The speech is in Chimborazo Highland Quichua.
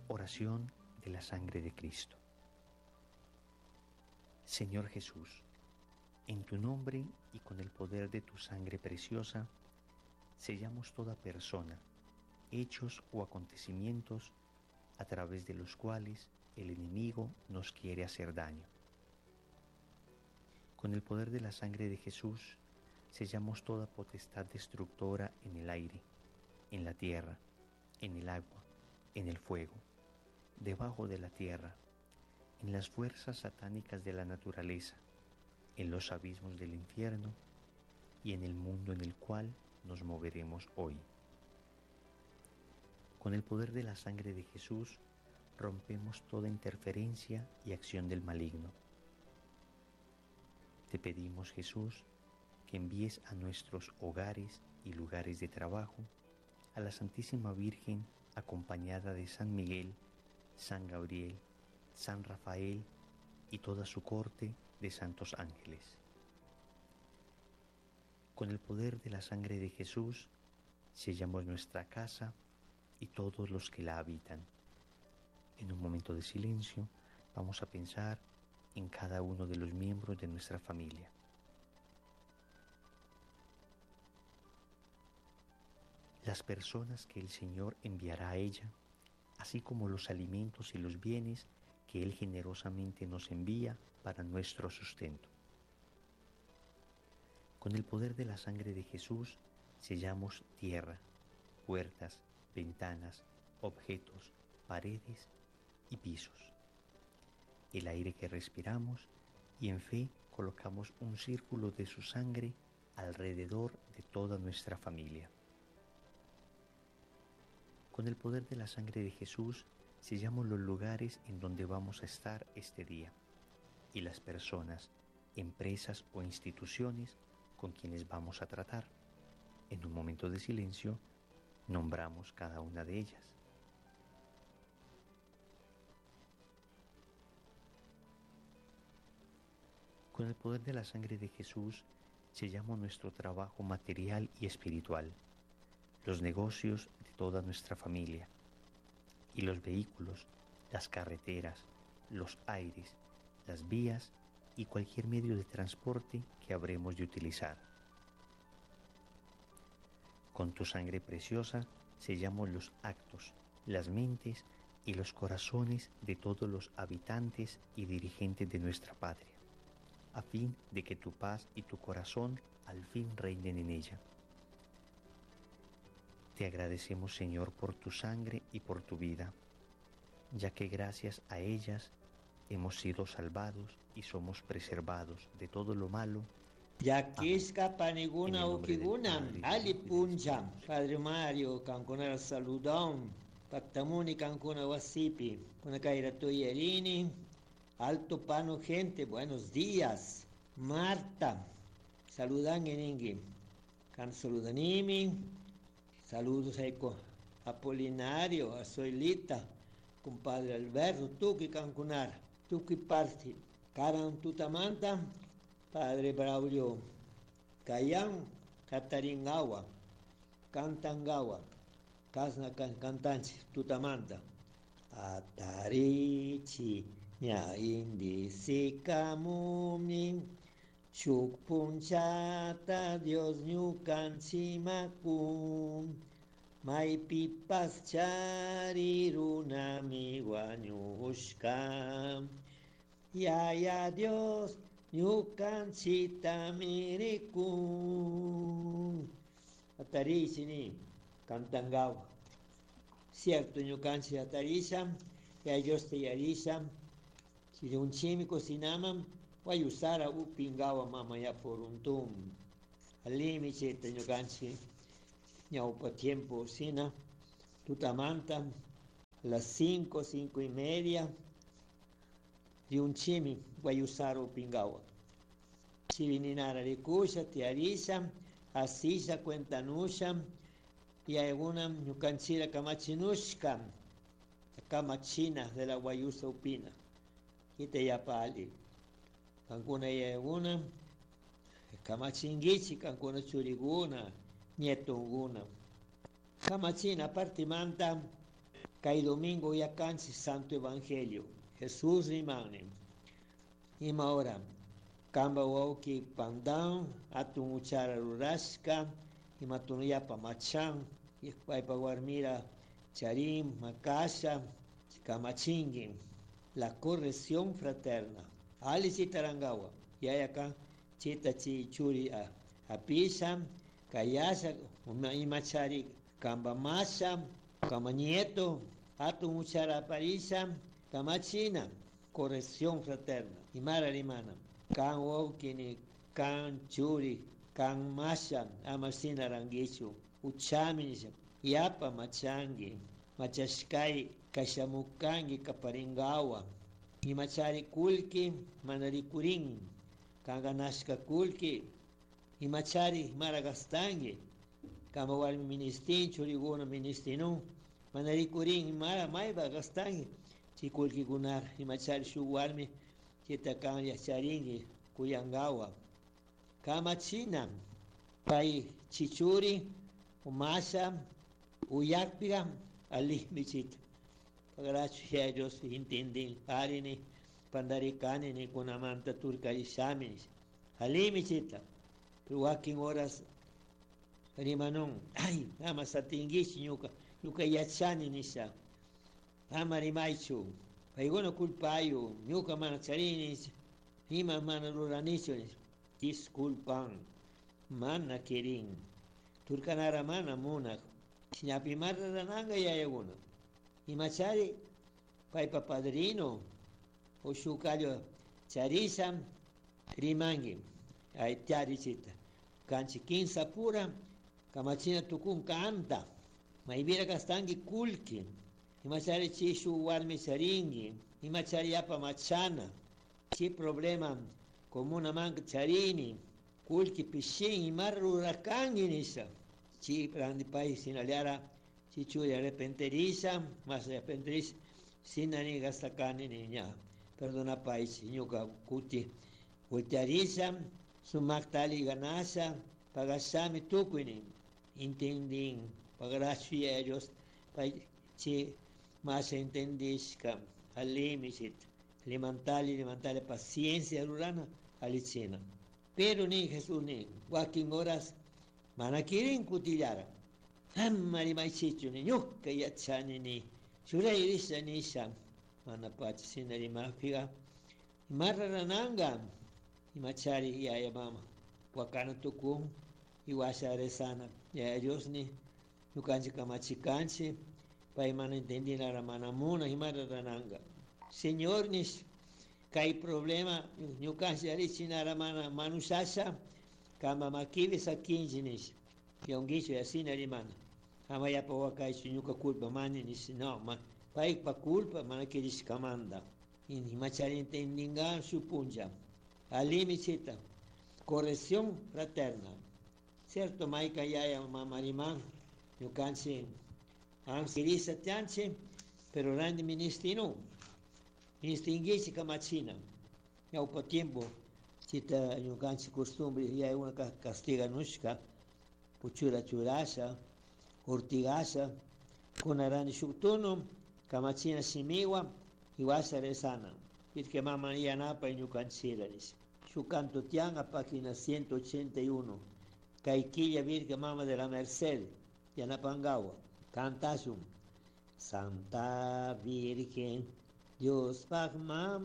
Oración de la sangre de Cristo. Señor Jesús, en tu nombre y con el poder de tu sangre preciosa, sellamos toda persona, hechos o acontecimientos a través de los cuales el enemigo nos quiere hacer daño. Con el poder de la sangre de Jesús, sellamos toda potestad destructora en el aire, en la tierra, en el agua, en el fuego, debajo de la tierra, en las fuerzas satánicas de la naturaleza, en los abismos del infierno y en el mundo en el cual nos moveremos hoy. Con el poder de la sangre de Jesús, rompemos toda interferencia y acción del maligno. Te pedimos, Jesús, que envíes a nuestros hogares y lugares de trabajo a la Santísima Virgen acompañada de San Miguel, San Gabriel, San Rafael y toda su corte de santos ángeles. Con el poder de la sangre de Jesús, sellamos nuestra casa y todos los que la habitan. En un momento de silencio vamos a pensar en cada uno de los miembros de nuestra familia. Las personas que el Señor enviará a ella, así como los alimentos y los bienes que Él generosamente nos envía para nuestro sustento. Con el poder de la sangre de Jesús sellamos tierra, puertas, ventanas, objetos, paredes y pisos. El aire que respiramos y en fe colocamos un círculo de su sangre alrededor de toda nuestra familia. Con el poder de la sangre de Jesús sellamos los lugares en donde vamos a estar este día y las personas, empresas o instituciones con quienes vamos a tratar. En un momento de silencio, nombramos cada una de ellas. Con el poder de la sangre de Jesús, sellamos nuestro trabajo material y espiritual, los negocios de toda nuestra familia y los vehículos, las carreteras, los aires, las vías y cualquier medio de transporte que habremos de utilizar. Con tu sangre preciosa sellamos los actos, las mentes y los corazones de todos los habitantes y dirigentes de nuestra patria, a fin de que tu paz y tu corazón al fin reinen en ella. Te agradecemos, Señor, por tu sangre y por tu vida, ya que gracias a ellas hemos sido salvados y somos preservados de todo lo malo. Llakishka En paniguna el nombre del ukiguna, Padre, del ali Hijo y del puncha, Espíritu Santo. Padre Mario, kankunara saludón, pactamuni kankuna wasipi, kunakaira tuyerini, alto pano gente, buenos días, Marta, saludan eningi, kan saludanimi, saludos a Apolinario, a Zoilita, compadre Alberto, tuki kankunar, tuki parti, karan tutamanta, padre Braulio, Kayan, Kataringawa, Kantangawa, Kasna Kantanchi, Tutamanta, Atarichi, Ña Indi Sikamumi, Shukpunchata, Dios ñukanchimakun, Maypipas chari runami wañushka, Yaya Dios ñukanchita mirikun. Atarichini, Kantangawa. Cierto, ñukanchi atarisha, ya Dios te yarisha, chirunchimi cocinaman, guayusara upingawa mama ya poruntum. Alimi cheta ñukanchi, ñaupa tiempo sina, tutamanta, a las 5, 5:30, riunchimi guayusara upingawa. Chivininara rikusha, tiarisha, asisha, cuentanusha, y alguna ñukanchira kamachinushka, kamachina de la guayusa upina. Quita ya pali. Cancuna y alguna, kamachinguichi, cancuna churiguna, nietunguna. Kamachina partimanta, Kay domingo uyacanchik Santo Evangelio. Jesús rimani. Ima hora kamba wawki pandan atun uchara rurashka ima tunuyapa machan paypa warmira charin makasha kamachinki. La corrección fraterna. Ali chitarangawa. Yayaka chita chi churi apisha kayasha imachari kamba masha kamba nieto atun uchara aparisha kamachina. Corrección fraterna. Imara rimana. Kan wawkini, kan churi, kan masha, ama shina ranguichu. Uchami nisha. Yapa machangi. Machashkay kashamukangi kaparingawa. Imachari kulki mana rikurin. Kan ganashka kulki. Imachari mara gastangi. Kamba warmi ministin, churiguna ministinu. Mana rikurin mara maypa gastangi. Chay kullkikunara imachari shuk warmi chayta kan yacharinki kuyangawa. Kamachina pay chichuri umasha uyakpiga alimi chita. Gracias a Dios intendin arini pandarikani ni kunamanta turkarishami. Alimi chita. Pero wakin horas rimanun, ay, ama satinguichi ñuka, ñuka yachani nisha. Ama rimaychu, paykuna culpayu, ñuka mana charini, ima mana ruranichu, disculpan, mana kirin, turkanara mana munak, shinapi rurananga yayakuna. Imachari paypa padrino, o shuk kallo charisha, rimanki, ay charichita. Kanchi kinsa pura, kamachina tukun kanta, maybira kastanki kulki, imachari chi shuk warmi charinki, imachari yapa machana, chi problema comuna manka charini, kulki pishin, imar rurakanki nisha, chi randi pay sinaliara, chi churi arrepenterisha, mas arrepenterisha, sinani gastakani ni ña, perdona pay, ñuka kuti, voltearisha, sumakta ali ganasha, pagashami tukuynin, intendin, gracias a Dios, pay chi mas entendishka, alimi chita, limantali, limantali paciencia rurana, alichina. Pero ni Jesús ni, wakin horas, mana kirin kutillara. Amma rimaychichu ni, ñuka yachani ni, churay risha nisha, mana pacha shina rimajpiga, ima rurananga, imachari yaya mama, wakana tukun, iwasha rezana, yaya Dios ni, ñukanchik kamachikanchik, pay mana entendinara mana muna, ima rurananga. Señor nish, kay problema, ñukanchik arichinara mana manushasha, kamba makipi sakinchik nish, yonguichu yasina rimana. Ama yapa wakaychu ñuka culpa mani nish, no, ma, paypa culpa mana kirishkamanta. Imachari entendinga shuk punlla. Alimi chita, corrección fraterna. Cierto, mayka yaya mama riman, ñukanchik kirisa tianchik, pero randi ministinu, ministinguichik kamachina. Ñawpa tiempo, chita ñukanchik costumbre, yaya una castiganushka, puchura churasha, ortigasha, kunarani shuk tunu, kamachina shimiwa, iwasha rezana. Irke mama yanapa ñukanchira nish. Shuk canto tian a página 181. Kay killa Virgen Mama de la Merced, yanapangawa, cantashun. Santa Virgen, Dios mama.